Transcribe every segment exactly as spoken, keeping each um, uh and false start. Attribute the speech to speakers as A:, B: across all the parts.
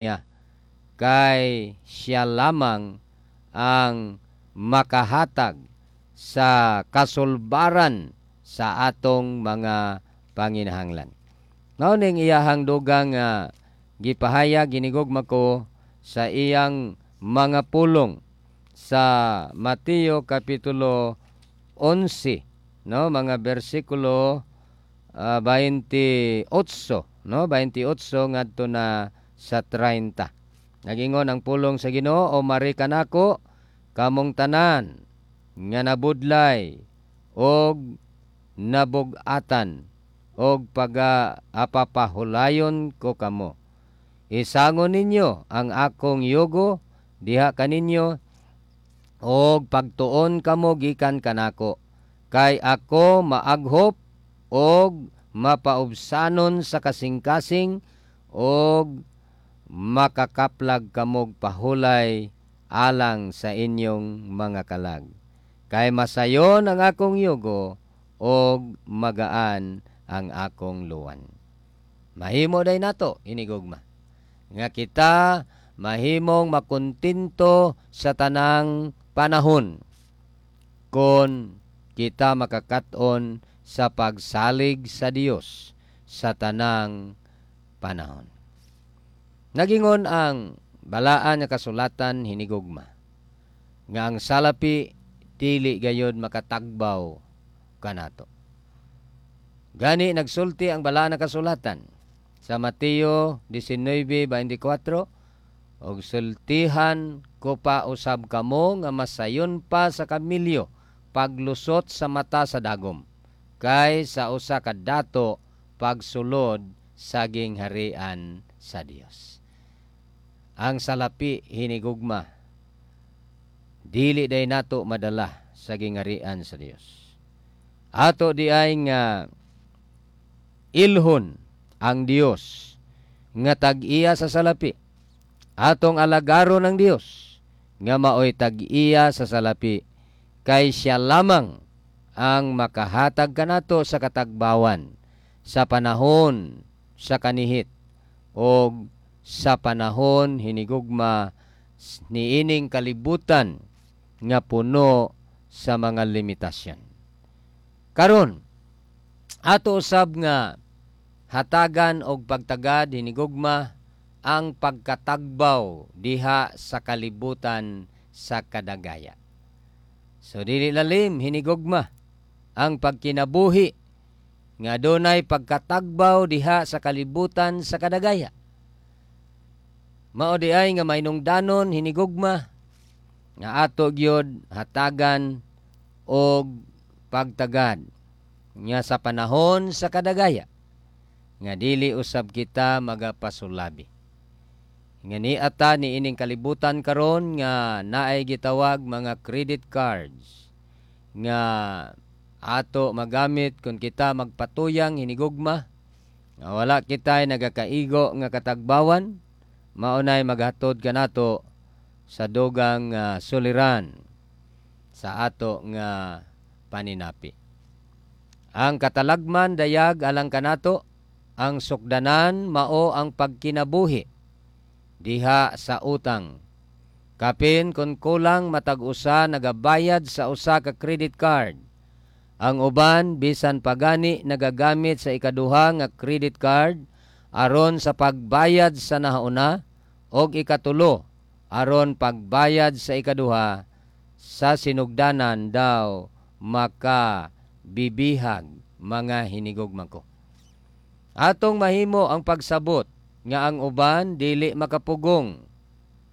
A: Niya kay siya lamang ang makahatag sa kasulbaran sa atong mga panginahanglan. Mao ning iyahang dugang uh, gipahayag, hinigugma ko, sa iyang mga pulong sa Mateo kapitulo onse, no, mga bersikulo uh, twenty-eight, no, twenty-eight ngadto na sa thirty. Nagingon ang pulong sa Ginoo: "O mari kanako kamong tanan nga nabudlay og nabug-atan, og paga apapahulayon ko kamo. Isangon ninyo ang akong yugo diha kaninyo og pagtuon kamo gikan kanako, kay ako maaghop og mapaubsanon sa kasing-kasing, og makakaplag kamog pahulay alang sa inyong mga kalag. Kay masayon ang akong yugo og magaan ang akong luwan." Mahimo day nato, hinigugma, nga kita mahimong makontento sa tanang panahon kon kita makakat-on sa pagsalig sa Dios sa tanang panahon. Nagingon ang balaan nga kasulatan, hinigugma, nga ang salapi dili gayod makatagbaw kanato. Gani nagsulti ang balaan nga kasulatan sa Mateo nineteen twenty-four: "Og sultihan ko pa usab kamo nga masayon pa sa kamilyo paglusot sa mata sa dagom kay sa usa ka dato pagsulod sa gingharian sa Dios." Ang salapi, hinigugma, dili day nato madala sa gingharian sa Dios. Ato di ay nga ilhon ang Dios nga tag-iya sa salapi. Atong alagaron ang Dios nga maoy tag-iya sa salapi, kay siya lamang ang makahatag kanato sa katagbawan sa panahon sa kanihit og sa panahon, hinigugma, niining kalibutan nga puno sa mga limitasyon. Karon, ato usab nga hatagan og pagtagad, hinigugma, ang pagkatagbaw diha sa kalibutan sa kadagaya. So dili lalim, hinigugma, ang pagkinabuhi nga dunay pagkatagbaw diha sa kalibutan sa kadagaya. Mao di ay nga mainungdanon, hinigugma, nga ato gyud hatagan og pagtagad nga sa panahon sa kadagaya nga dili usab kita magapasulabi. Nga niata ni ining kalibutan karon nga naay gitawag mga credit cards nga ato magamit kung kita magpatuyang, hinigugma, nga wala kita nagakaigo nga katagbawan, maunay maghatod kanato sa dugang uh, suliran sa ato nga paninapi. Ang katalagman dayag alang kanato, ang sukdanan mao ang pagkinabuhi diha sa utang. Kapin kung kulang matag usa nagabayad sa usa ka credit card. Ang uban bisan pagani nagagamit sa ikaduha nga credit card aron sa pagbayad sa nahauna og ikatulo aron pagbayad sa ikaduha, sa sinugdanan daw maka bibihag, mga hinigugma ko. Atong mahimo ang pagsabot nga ang uban dili makapugong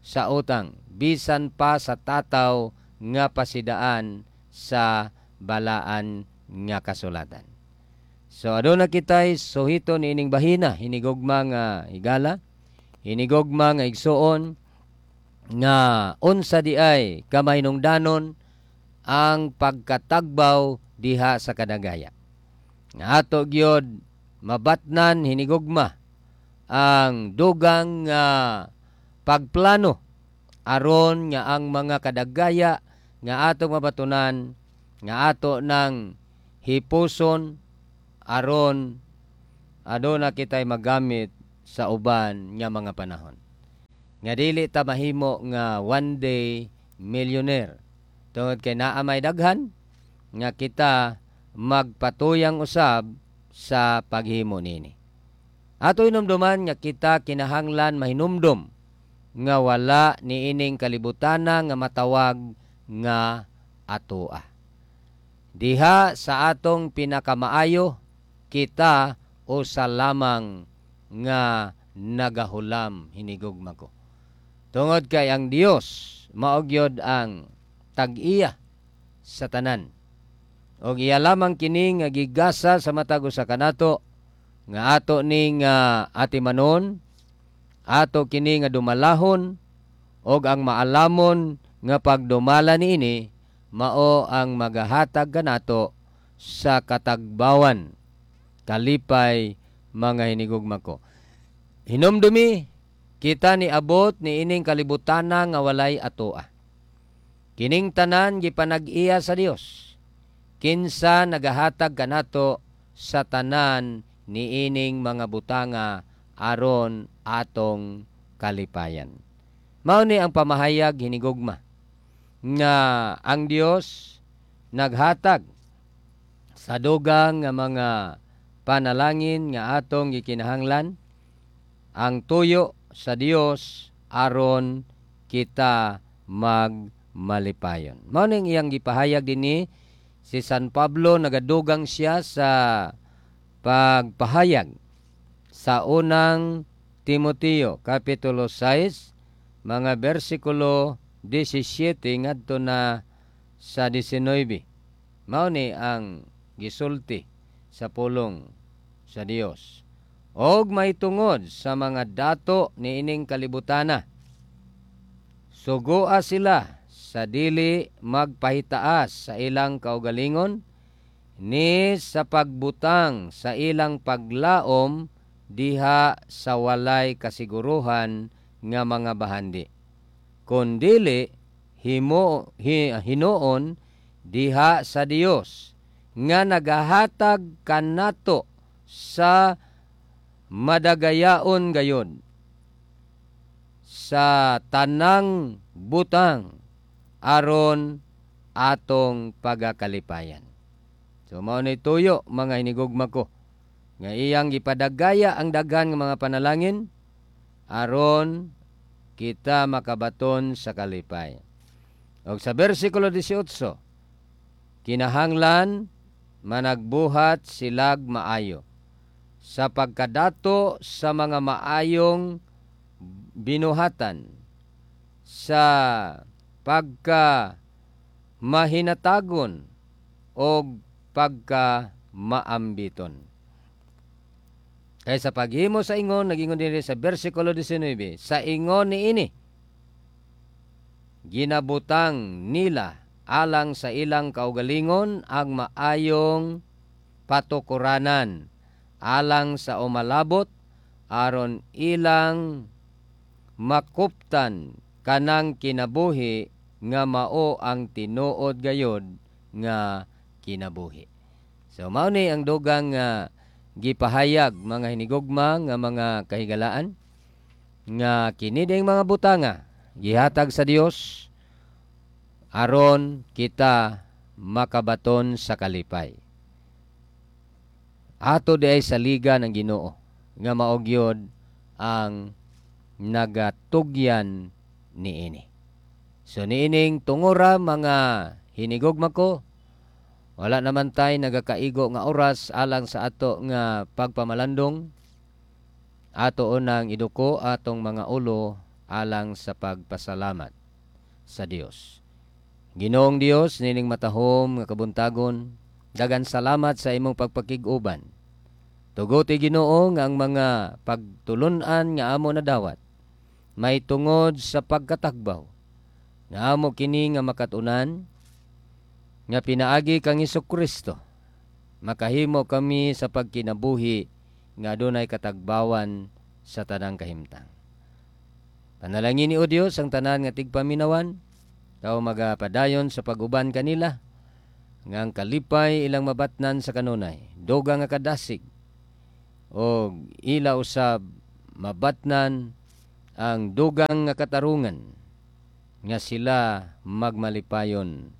A: sa utang bisan pa sa tataw nga pasidaan sa balaan nga kasulatan. So aduna kitay suhito niining bahina, hinigugma nga higala, hinigugma nga igsuon, nga unsa di ay kamahinungdanon ang pagkatagbaw diha sa kadagaya. Nga ato gyud mabatnan, hinigugma, ang dugang nga pagplano aron nga ang mga kadagaya nga atong mabatunan nga ato nang hipuson aron aduna kitay magamit sa uban nga mga panahon. Nga dili ta mahimo nga one day millionaire. Tungod kay naa may daghan nga kita magpatuyang usab sa paghimo nini. Ato hinumduman nga kita kinahanglan mahinumdom nga wala niining kalibutana nga matawag nga atoa. Diha sa atong pinakamaayo, kita usa lamang nga nagahulam, hinigugma ko. Tungod kay ang Dios mao gyud ang tag-iya sa tanan. Og iya lamang kini nga gigasa sa matag usa kanato nga ato ning uh, atimanon, ato kini nga dumalahon, og ang maalamon nga pagdumala niini mao ang magahatag kanato sa katagbawan, kalipay, mga hinigugma ko. Hinumdumi, kita ni abot ni ining kalibutana nga walay atoa. Kining tanan gipanag-iya sa Dios. Kinsa nagahatag kanato sa tanan niining mga butanga aron atong kalipayan. Mao ni ang pamahayag, hinigugma, nga ang Dios naghatag sa dugang nga mga panalangin nga atong gikinahanglan, ang tuyo sa Dios aron kita magmalipayon. Mao ning iyang gipahayag dinhi si San Pablo, nagadugang siya sa pagpahayag sa Unang Timoteo kapitulo sais mga bersikulo labing-siyam ngadto na sa labing-nuebe. Mao ni ang gisulti sa pulong sa Dios. Og mahitungod sa mga dato niining kalibutana, sugoa sila sa dili magpahitaas sa ilang kaugalingon ni sa pagbutang sa ilang paglaom diha sa walay kasiguruhan nga mga bahandi. Kun dili himo hi, hinuon diha sa Dios nga nagahatag kanato sa madagayaon gayod sa tanang butang aron atong pagakalipayan. So mao ni tuyo, mga hinigugma ko, nga iyang gipadagaya ang daghan nga mga panalangin aron kita makabaton sa kalipay. Og sa bersikulo labing-otso, kinahanglan managbuhat silag maayo sa pagkadato sa mga maayong binuhatan, sa pagka mahinatagon og pagka maambiton. Kay sa paghimo sa ingon, nagingon dinhi sa bersikulo labing-nuebe, sa ingon niini ginabutang nila alang sa ilang kaugalingon ang maayong patukuranan alang sa umalabot aron ilang makuptan kanang kinabuhi nga mao ang tinuod gayod nga kinabuhi. So mao ni ang dugang nga gipahayag, mga hinigugma nga mga kahigalaan, nga kini ding mga butanga gihatag sa Dios aron kita makabaton sa kalipay. Ato diay saligan ang Ginoo nga mao gyud ang nagatugyan niini. So niining tungura, mga hinigugma ko, wala naman tay nagakaigo nga oras alang sa ato nga pagpamalandong. Ato unang iduko atong mga ulo alang sa pagpasalamat sa Dios. Ginoong Dios, nining matahom nga kabuntagon, dagan salamat sa imong pagpakig-uban. Tuguti, Ginoo, nga ang mga pagtulunan nga amo nadawat may tungod sa pagkatagbaw nga amo kini nga makatunan nga pinaagi kang Hesus Kristo, makahimo kami sa pagkinabuhi nga adunay katagbawan sa tanang kahimtang. Panalangin ni o Dios ang tanan nga tigpaminawan, ikaw magapadayon sa paguban kanila nga ang kalipay ilang mabatnan sa kanunay, dugang nga kadasig, o ila usab mabatnan Ang dugang nga katarungan nga sila magmalipayon,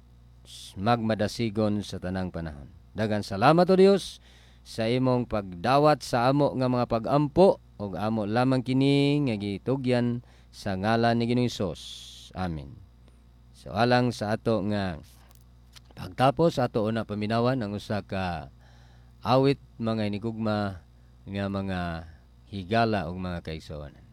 A: magmadasigon sa tanang panahon. Daghang salamat, O Dios, sa imong pagdawat sa amo nga mga pagampo ug amo lamang kini nga gitugyan sa ngalan ni Ginoong Hesus. Amen. So alang sa ato nga pagtapos, ato una paminawan ang usa ka awit, mga inigugma nga mga higala ug mga kaigsuonan.